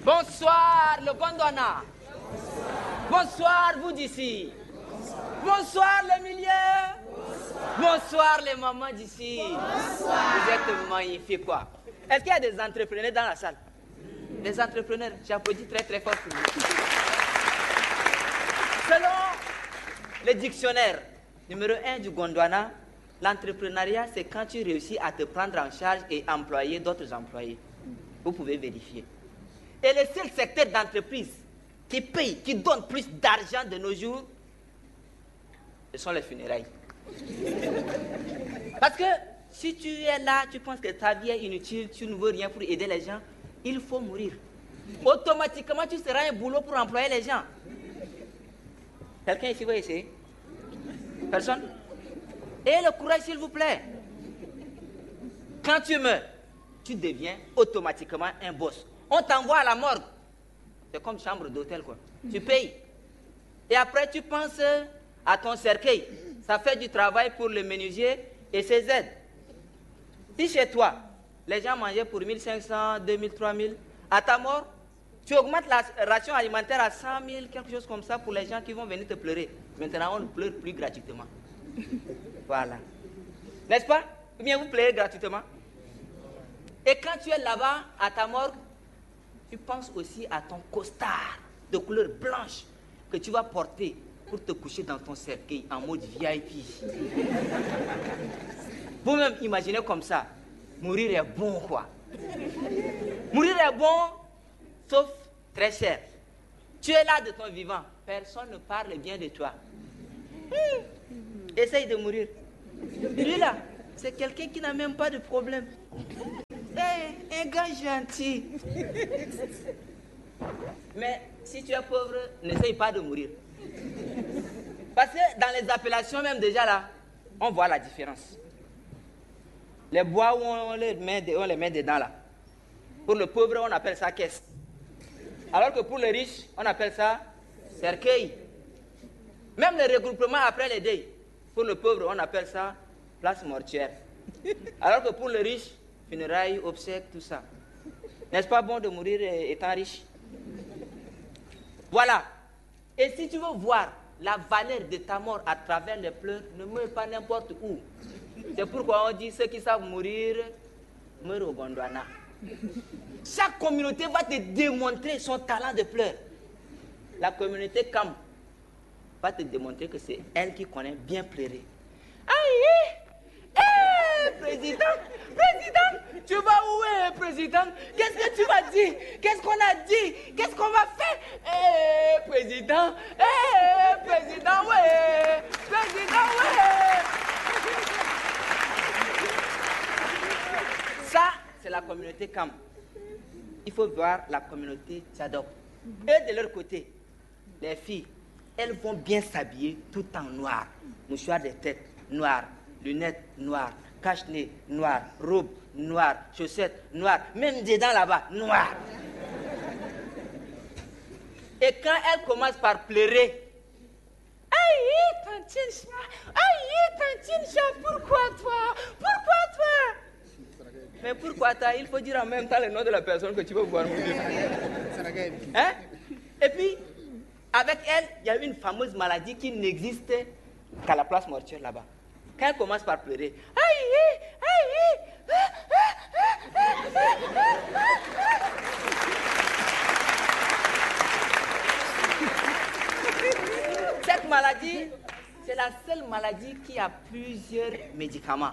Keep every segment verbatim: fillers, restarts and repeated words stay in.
Bonsoir, le Gondwana. Bonsoir, vous d'ici. Bonsoir, les milieux. Bonsoir, les mamans d'ici. Vous êtes magnifiques, quoi. Est-ce qu'il y a des entrepreneurs dans la salle? Des entrepreneurs, j'applaudis très, très fort pour vous. Selon le dictionnaire numéro un du Gondwana, l'entrepreneuriat, c'est quand tu réussis à te prendre en charge et employer d'autres employés. Vous pouvez vérifier. Et le seul secteur d'entreprise qui paye, qui donne plus d'argent de nos jours, ce sont les funérailles. Parce que si tu es là, tu penses que ta vie est inutile, tu ne veux rien pour aider les gens, il faut mourir. Automatiquement, tu seras un boulot pour employer les gens. Quelqu'un ici veut essayer? Personne? Et le courage, s'il vous plaît. Quand tu meurs, tu deviens automatiquement un boss. On t'envoie à la morgue. C'est comme chambre d'hôtel, quoi. Tu payes. Et après, tu penses à ton cercueil. Ça fait du travail pour le menuisier et ses aides. Si chez toi, les gens mangeaient pour mille cinq cents, deux mille, trois mille, à ta mort, tu augmentes la ration alimentaire à cent mille, quelque chose comme ça, pour les gens qui vont venir te pleurer. Maintenant, on ne pleure plus gratuitement. Voilà. N'est-ce pas? Ou bien vous pleurez gratuitement. Et quand tu es là-bas, à ta morgue, tu penses aussi à ton costard de couleur blanche que tu vas porter pour te coucher dans ton cercueil en mode V I P. Vous-même, imaginez comme ça. Mourir est bon, quoi. Mourir est bon, sauf très cher. Tu es là de ton vivant, personne ne parle bien de toi. Hmm. Essaye de mourir. Lui là, c'est quelqu'un qui n'a même pas de problème. Hey, un gars gentil. Mais si tu es pauvre, n'essaye pas de mourir. Parce que dans les appellations même déjà là, on voit la différence. Les bois où on les met, on les met dedans là. Pour le pauvre, on appelle ça caisse. Alors que pour le riche, on appelle ça cercueil. Même le regroupement après les deuils, pour le pauvre, on appelle ça place mortuaire. Alors que pour le riche, funérailles, obsèques, tout ça. N'est-ce pas bon de mourir euh, étant riche? Voilà. Et si tu veux voir la valeur de ta mort à travers les pleurs, ne meurs pas n'importe où. C'est pourquoi on dit ceux qui savent mourir meurent au Gondwana. Chaque communauté va te démontrer son talent de pleur. La communauté Kam va te démontrer que c'est elle qui connaît bien pleurer. Aïe! Eh, président, président, tu vas où, eh, président? Qu'est-ce que tu vas dire? Qu'est-ce qu'on a dit? Qu'est-ce qu'on va faire? Eh, président, eh, président, ouais, président, ouais. Ça, c'est la communauté Kam. Il faut voir la communauté Tchadok. Eux, de leur côté, les filles, elles vont bien s'habiller tout en noir. Mouchoir de tête noir, lunettes noires, cache-nez noir, robe noire, chaussettes noires, même dedans là-bas, noir. Et quand elles commencent par pleurer, aïe, tantine Cha, aïe, tantine Cha, pourquoi toi? Pourquoi toi? Mais pourquoi toi? Il faut dire en même temps le nom de la personne que tu veux voir mourir. Hein? Et puis, avec elle, il y a une fameuse maladie qui n'existe qu'à la place mortuaire là-bas. Quand elle commence par pleurer, aïe, aïe, cette maladie, c'est la seule maladie qui a plusieurs médicaments.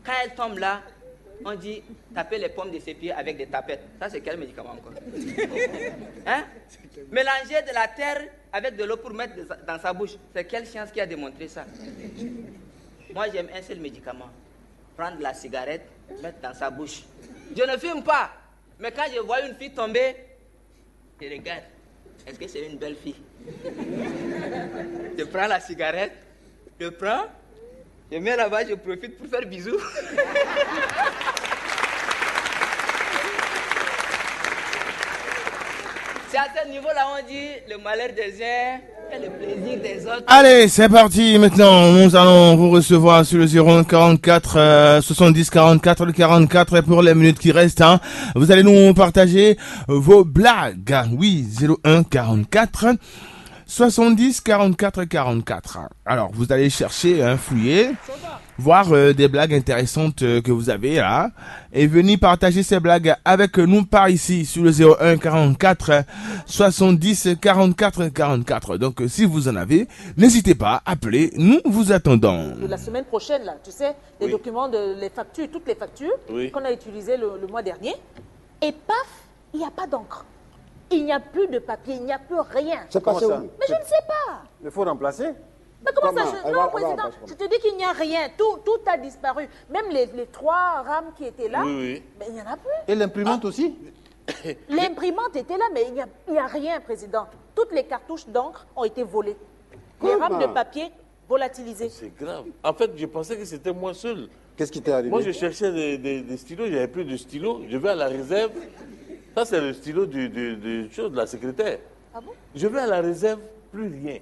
Quand elle tombe là, on dit taper les pommes de ses pieds avec des tapettes. Ça, c'est quel médicament encore? Hein? Mélanger de la terre avec de l'eau pour mettre dans sa bouche. C'est quelle science qui a démontré ça? Moi, j'aime un seul médicament. Prendre la cigarette, mettre dans sa bouche. Je ne fume pas. Mais quand je vois une fille tomber, je regarde. Est-ce que c'est une belle fille? Je prends la cigarette, je prends, je mets là-bas, je profite pour faire bisous. C'est à ce niveau-là on dit le malheur des uns Allez, c'est parti. Maintenant, nous allons vous recevoir sur le zéro un quarante-quatre, euh, soixante-dix quarante-quatre quarante-quatre pour les minutes qui restent, hein. Vous allez nous partager vos blagues. Oui, zéro un quarante-quatre soixante-dix quarante-quatre quarante-quatre. Alors, vous allez chercher, hein, fouiller, voir, euh, des blagues intéressantes, euh, que vous avez là, et venir partager ces blagues avec nous par ici sur le zéro un quarante-quatre soixante-dix quarante-quatre quarante-quatre. Donc, euh, si vous en avez, n'hésitez pas, appelez, nous vous attendons. De la semaine prochaine, là, tu sais, les Oui. documents, de, les factures, toutes les factures Oui. qu'on a utilisées le, le mois dernier. Et paf, il n'y a pas d'encre. Il n'y a plus de papier, il n'y a plus rien. C'est Comment passé ça où? Mais je ne sais pas. Mais faut remplacer. Mais comment ça, Comment? je... Elle Non, va- elle va président, remplacer je comment? te dis qu'il n'y a rien. Tout, tout a disparu. Même les, les trois rames qui étaient là, Oui, oui. mais il n'y en a plus. Et l'imprimante Ah. aussi? L'imprimante était là, mais il n'y a, il n'y a rien, président. Toutes les cartouches d'encre ont été volées. Les Comment? rames de papier volatilisées. C'est grave. En fait, je pensais que c'était moi seul. Qu'est-ce qui t'est arrivé? Moi, je cherchais des, des- des stylos, il n'y avait plus de stylos. Je vais à la réserve. Ça, c'est le stylo du, du- du- chose, de la secrétaire. Ah bon? Je vais à la réserve, plus rien.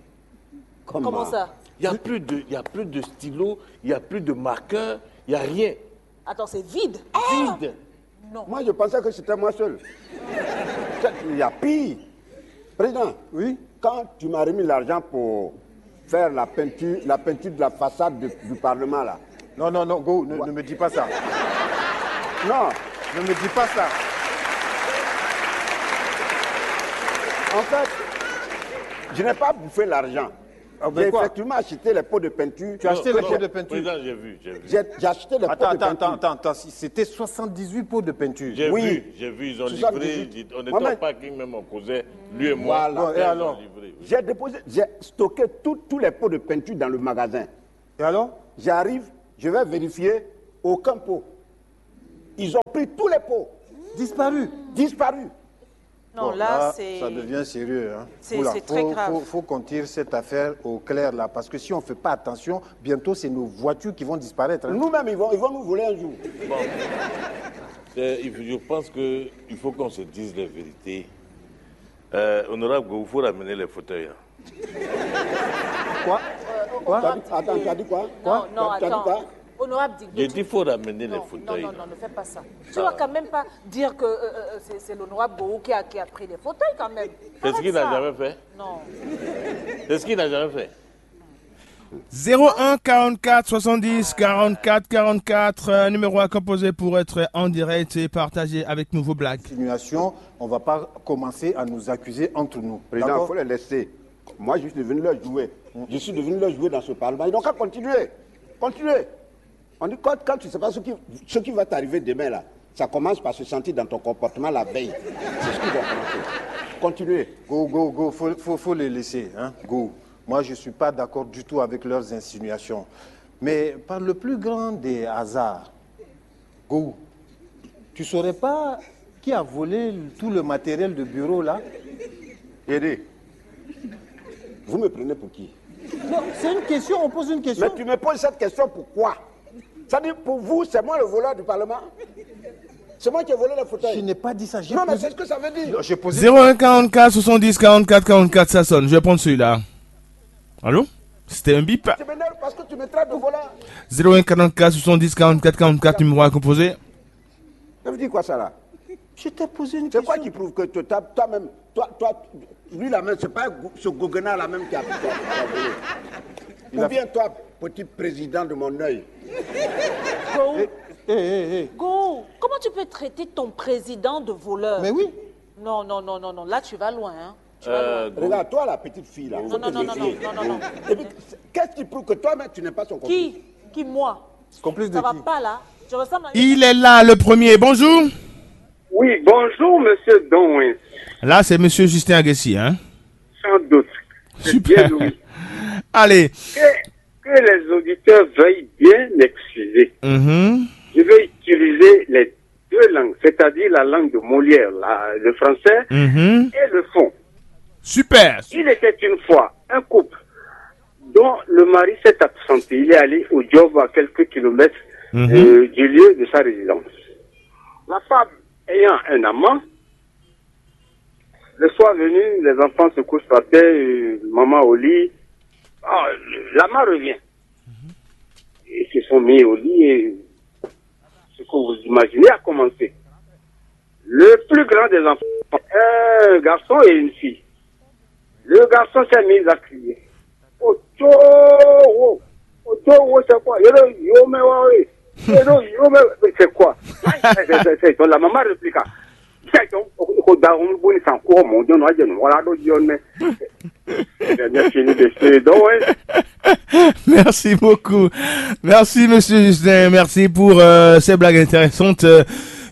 Comment ça? Il n'y a plus de, il y a plus de stylos, il n'y a plus de marqueurs, il n'y a rien. Attends, c'est vide. Vide. Non. Moi, je pensais que c'était moi seul. Il y a pire. Président, Oui. quand tu m'as remis l'argent pour faire la peinture, la peinture de la façade de- du Parlement, là. Non, non, non, Go, ne, Ouais. ne me dis pas ça. Non. Ne me dis pas ça. En fait, je n'ai pas bouffé l'argent. Ah, ben J'ai quoi? effectivement acheté les pots de peinture. Tu as acheté Non, les non, pots de peinture. Président, j'ai vu, j'ai vu. J'ai j'ai acheté les pots Attends, de attends, peinture. attends, attends, attends. Si- C'était soixante-dix-huit pots de peinture. J'ai Oui. vu, j'ai vu, ils ont livré. soixante-dix-huit. Ils- On était au Mohamed. parking même, on causait. Lui et moi. Voilà. Bon, et Ils alors? ont livré, oui. J'ai déposé, j'ai stocké tout- tous les pots de peinture dans le magasin. Et alors? J'arrive, je vais vérifier, aucun pot. Ils ont pris tous les pots. Disparu. Disparu. Non, Bon, là, là, c'est ça devient sérieux, hein. c'est- Oula, c'est très faut- grave. Faut, faut qu'on tire cette affaire au clair là, parce que si on fait pas attention, bientôt c'est nos voitures qui vont disparaître, hein. Nous-mêmes, ils vont, ils vont nous voler un jour. Bon. Euh, il faut- je pense que il faut qu'on se dise les vérités. Euh, honorable Go, il faut ramener les fauteuils, hein. Quoi? Quoi? T'as dit- Attends, tu as dit quoi? Non, non, Tu as dit attends. quoi? Honorable Dick, J'ai dit, faut ramener les non, fauteuils, non, non, non, ne fais pas ça. Tu vas quand même pas dire que euh, euh, c'est c'est l'honorable Gourou qui a, qui a pris les fauteuils quand même. C'est ce Arrête qu'il n'a ça. jamais fait. Non. C'est ce qu'il n'a jamais fait. Zéro un quarante-quatre soixante-dix quarante-quatre quarante-quatre, euh, numéro à composer pour être en direct et partager avec nous vos blagues. Insinuation, on va pas commencer à nous accuser entre nous. Président, il D'accord? faut les laisser. Moi, je suis devenu leur jouet. Je suis devenu leur jouet dans ce Parlement. Ils n'ont qu'à continuer. Continuer. On dit, quand, quand tu ne sais pas ce qui, ce qui va t'arriver demain, là, ça commence par se sentir dans ton comportement la veille. C'est ce qui va commencer. Continuez. Go, go, go, faut, faut, faut les laisser, hein, go. Moi, je suis pas d'accord du tout avec leurs insinuations. Mais par le plus grand des hasards, go, tu saurais pas qui a volé tout le matériel de bureau là? Aidez. Vous me prenez pour qui? Non, c'est une question, on pose une question. Mais tu me poses cette question pourquoi? Ça dit, pour vous, c'est moi le voleur du Parlement? C'est moi qui ai volé le fauteuil? Je n'ai pas dit ça. J'ai Non, mais posé- c'est ce que ça veut dire. Non, j'ai posé- Zéro un quarante-quatre soixante-dix quarante-quatre quarante-quatre, ça sonne. Je vais prendre celui-là. Allô? C'était un bip. Tu m'énerves parce que tu me traites de voleur. Zéro un quarante-quatre soixante-dix quarante-quatre quarante-quatre, numéro à composer. Ça veut dire quoi ça là? Je t'ai posé une C'est quoi question. Qui prouve que toi, toi- toi-même, toi, toi, lui la même, c'est pas go- ce goguenard là même qui a, qui a- qui a volé? Ou bien toi, petit président de mon œil. Go, Eh, eh, eh, eh. Go, comment tu peux traiter ton président de voleur? Mais oui. Non, non, non, non, non, là tu vas loin, hein. Tu vas loin. Euh, Regarde, toi la petite fille là. Non, non, non, non, non, non, non, non. Et puis, qu'est-ce qui prouve que toi-même tu n'es pas son complice? Qui? Qui, moi? Complice de Ça va qui? Pas là. Je ressemble à Il est là, le premier. Bonjour. Oui, bonjour, monsieur Donwins. Là, c'est monsieur Justin Agassi, hein? Sans doute. C'est Super. Bien, oui. Allez. Que, que les auditeurs veuillent bien m'excuser. Mhm. Je vais utiliser les deux langues, c'est-à-dire la langue de Molière, la- le français, Mhm. Et le fond. Super. Il était une fois un couple dont le mari s'est absenté. Il est allé au job à quelques kilomètres Mhm. euh, du lieu de sa résidence. La femme ayant un amant, Le soir venu, les enfants se couchent par terre, euh, maman au lit. Ah, la maman revient. Ils se sont mis au lit et ce que vous imaginez a commencé. Le plus grand des enfants, un garçon et une fille. Le garçon s'est mis à crier. Ojowo, Ojowo, c'est quoi? Yoro, yo, mais ouais, oui. Yoro, yo, mais c'est quoi? C'est, c'est, c'est, donc la maman répliqua. C'est donc, au, au, dans un bon sens, quoi, mon Dieu, non, je ne vois là, donc, Dieu, mais, mais, mais, fini de se, donc, ouais. Merci beaucoup. Merci, monsieur Justin. Merci pour euh, ces blagues intéressantes euh,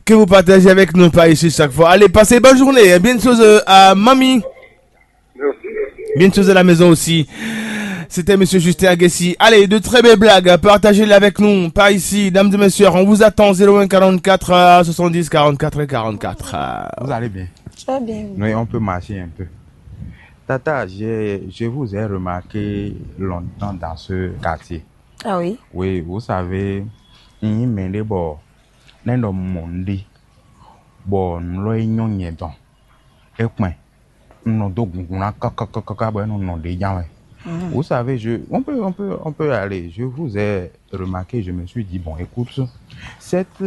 que vous partagez avec nous par ici chaque fois. Allez, passez bonne journée. Et bien de choses euh, à mamie. Bien de choses à la maison aussi. C'était monsieur Justin Agassi. Allez, de très belles blagues. Partagez-les avec nous par ici. Dames et messieurs, on vous attend zéro un quarante-quatre euh, soixante-dix quarante-quatre quarante-quatre. Vous allez bien? Très bien. Oui, on peut marcher un peu. Tata, j'ai- je vous ai remarqué longtemps dans ce quartier. Ah oui. Oui, vous savez, il y a des gens qui ont dit, bon, nous l'avons dit, et point, nous l'avons dit, nous l'avons dit, vous savez, je, on peut, on peut, on peut aller. Je vous ai remarqué, je me suis dit, bon, écoute, cette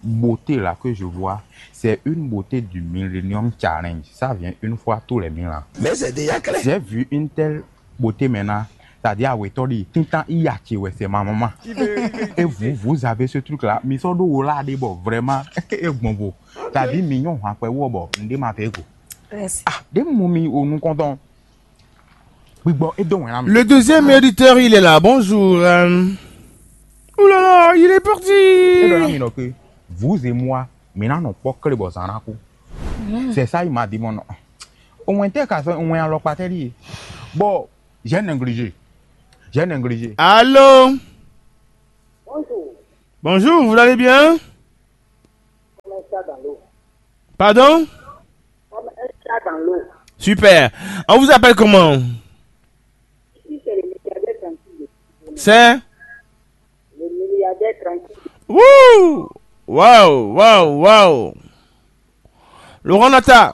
beauté-là que je vois, c'est une beauté du Millennium Challenge. Ça vient une fois tous les mille ans. Mais c'est déjà clair. J'ai vu une telle beauté maintenant. C'est-à-dire, ah ouais, toi, dis, tintan, il y a, tu vois, c'est ma maman. Et vous, vous avez ce truc-là. Mais ça, là, des bon, vraiment, et bon, bon. C'est-à-dire, mignon, après, ouais, bon, on dit, ma fait, quoi. Merci. Ah, des momies au nous comptons. Oui, bon, et donc, hein, Le deuxième auditeur, il est là. Bonjour. Euh. Ouh là là, il est parti. Et donc, là, mais donc, vous et moi, maintenant, on peut que les beaux en coup. C'est ça, il m'a dit, mon nom. Au moins, t'es qu'à ça, au moins, alors, pas télé. Bon, j'ai négligé. J'ai négligé. Allô? Bonjour. Bonjour, vous allez bien? Comme un chat dans l'eau. Pardon? Comme un chat dans l'eau. Super. On vous appelle comment? Ici, c'est le milliardaire tranquille. C'est? Le milliardaire tranquille. Wouh! Waouh, waouh, waouh! Laurent Nata.